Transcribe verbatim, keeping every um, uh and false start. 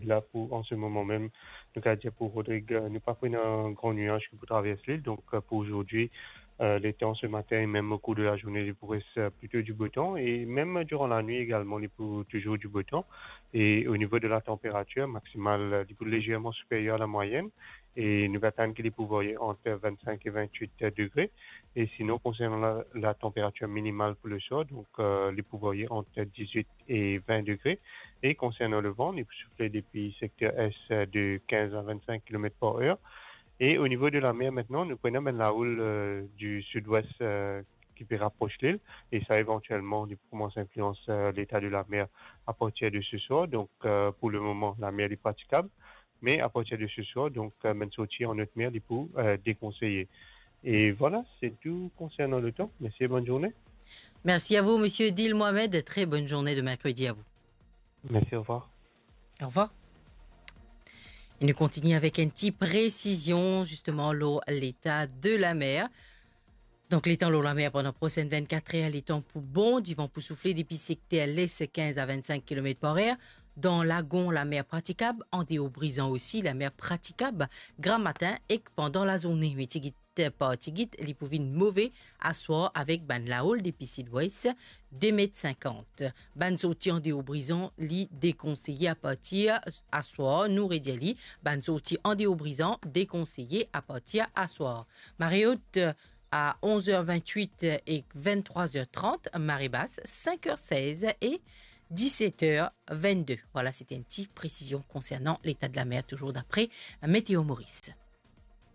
La, pou, an se moman mem, nou kapav dir pou Rodrig, euh, nou pa pou ena gran nwaz ki pou travers lil. Donk, euh, pou azordi, euh, letan se matin e mem o kour de la zourne, li pou res, euh, plito di bo tan. E mem diran lanwit egalman, li pou touzour di bo tan. E o nivo de la tanperatir maksimal, euh, li pou lezerman siperyer a la mwayenn. E nou pe atann ki li pou varye ant vennsenk e vennwit degre. E sinon, konsernan la, la tanperatir minimal pou leswar, donk, euh, li pou varye ant dizwit e vin degre. E konsernan levan, li pou soufle depi sekter es de kinz a vennsenk kilomet par er. E o nivo de lamer, aster, nou pou ena bann lahoul, euh, di sidwes, euh, ki pe rapros lil, e sa, evantielman, li pou koumans inflians, euh, leta de lamer apartir de seswar. Donk, euh, pou lemoman, lamer, li pratikab, me apartir de seswar, donk, euh, bann sorti an not mer, li pou, euh, dekonseye. E vwala, se tou konsernan letan. Mersi e bonn zourne. Merci à vous, monsieur Dil Mohamed. Très bonne journée de mercredi à vous. Merci, au revoir. Au revoir. E nou kontigne avek enn ti presizion, zisteman, lor leta de lamer. Donk, letan lor lamer pandan prosenn vennkat er, letan pou bon, divan pou soufle depi sekter les kinz a vennsenk kilomet par er. Dan Lagon, lamer pratikab, andeor Brizan osi, lamer pratikab, gramatin ek pandan lazourne. Me tigit par tigit, li pou vinn move aswar avek bann lahoul depi sidwes, de met sinkant. Bann sorti andeor Brizan, li dekonseye apartir aswar, nou redir li, bann sorti andeor Brizan dekonseye apartir aswar. Mare ot a onz er vennwit ek venntrwa er trant, mare bas sink er sez e diset er vennde. Vwala, sete enn ti presizion konsernan leta de lamer, touzour dapre Météo Maurice.